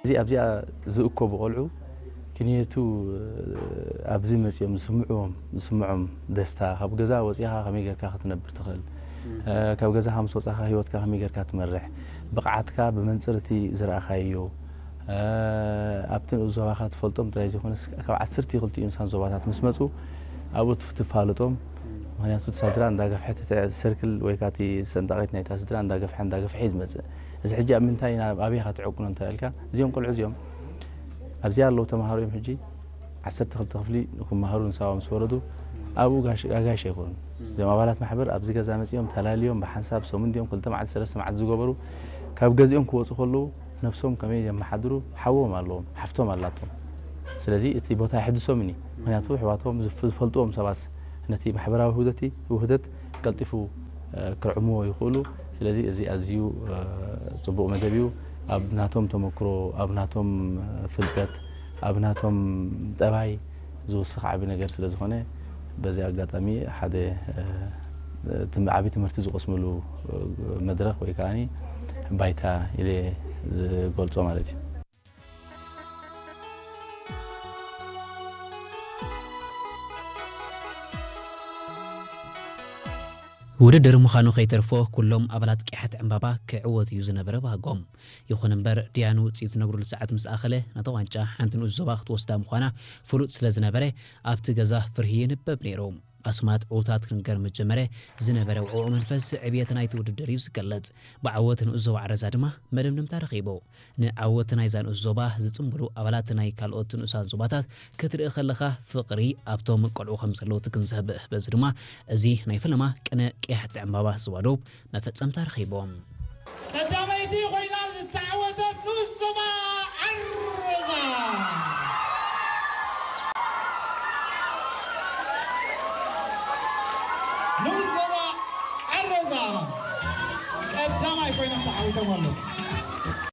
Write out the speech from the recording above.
እዚ ኣብዚኣ ዝእከቡ ቆልዑ ክንየቱ ኣብዚ መጺኦም ዝስምዕዎም ዝስምዖም ደስታ፣ ካብ ገዛ ወጺኻ ከመይ ጌርካ ክትነብር ትኽእል፣ ካብ ገዛኻ ምስ ወጻኻ ህይወትካ ከመይ ጌርካ ትመርሕ፣ ብቕዓትካ ብመንጽር እቲ ዝረኣኻዮ፣ ኣብቲ ንኡስ ዞባኻ ትፈልጦም ጥራይ ዘይኮነስ ካብ ዓሰርተ ክልቲኡ ንሳን ዞባታት ምስ መጹ ኣብኡ ትፍ- ትፋልጦም። ምኽንያቱ እቲ ስድራ እንዳገፍሐ እቲ ሰርክል ወይ ከዓ እቲ ሰንጣቒት ናይታ ስድራ እንዳገፍሐ እንዳገፍሐ እዩ ዝመጽእ። እዚ ሕጂ ኣብ ምንታይ ኢና ኣብ ኣበይ ኢኻ ትዕቅኖ እንተ ኢልካ እዚኦም ቆልዑ እዚኦም ኣብዚኣ ኣለዉ ተምሃሮ እዮም። ሕጂ ዓሰርተ ክልተ ክፍሊ ንክመሃሩ ንሳዋ ምስ ወረዱ ኣብኡ ጋሽ- ኣጋይሽ ኣይኮኑን። እዞም ኣባላት ማሕበር ኣብዚ ገዛ መጺኦም ተላልዮም ብሓንሳብ ሰሙን ድዮም ክልተ መዓልቲ ሰለስተ መዓልቲ ዝገበሩ ካብ ገዚኦም ክወፁ ከለዉ ነብሶም ከመይ የመሓድሩ ሓዎም ኣለዎም ሓፍቶም ኣላቶም። ስለዚ እቲ ቦታ የሕድሶምን እዩ። ምክንያቱ ኣሕዋቶም ዝፍ- ዝፈልጥዎም ሰባት ነቲ ማሕበራዊ ውህደት ውህደት ቀልጢፉ ክርዕምዎ ይኽእሉ። ስለዚ እዚ ኣዝዩ ጽቡቕ መደብ እዩ። ኣብ ናቶም ተመክሮ፣ ኣብ ናቶም ፍልጠት፣ ኣብ ናቶም ጠባይ ዝውስኽ ዓቢ ነገር ስለ ዝኾነ በዚ ኣጋጣሚ ሓደ ዓቢ ትምህርቲ ዝቐስምሉ መድረኽ ወይ ከዓ ባይታ ኢለ ዝገልጾ ማለት እዩ። ውድድር ምዃኑ ከይተርፎ ኩሎም ኣባላት ቅያሕቲ ዕምባባ ክዕወት እዩ ዝነበረ ባህጎም። ይኹን እምበር ዲያኑ ውፅኢት ዝነግሩሉ ሰዓት ምስ ኣኸለ ነታ ዋንጫ ሓንቲ ንኡስ ዞባ ክትወስዳ ምዃና ፍሉጥ ስለ ዝነበረ ኣብቲ ገዛ ፍርሂ ይንበብ ነይሩ። ኣስማት ዕዉታት ክንገር ምስ ጀመረ ዝነበረ ውዕዉዕ መንፈስ ዕብየት ናይቲ ውድድር እዩ ዝገልጽ። ብዓወት ንኡስ ዞባ ዓረዛ ድማ መደምደምታ ረኺቡ። ንዓወት ናይዛ ንኡስ ዞባ ዝጽንብሉ ኣባላት ናይ ካልኦት ንኡሳን ዞባታት ክትርኢ ከለኻ ፍቕሪ ኣብቶም ቆልዑ ከም ዘለዉ ትግንዘብ። በዚ ድማ እዚ ናይ ፈለማ ቅነ ቅያሕቲ ዕምባባ ዞባ ዶብ መፈጸምታ ረኺቡ። ቀዳመይቲ ኮይና ዝተዓወተት ንኡስ ዞባ ዓረዛ። ንኡስ ዞባ ዓረዛ ቀዳማይ ኮይኖም ተዓዊቶም ኣለዉ።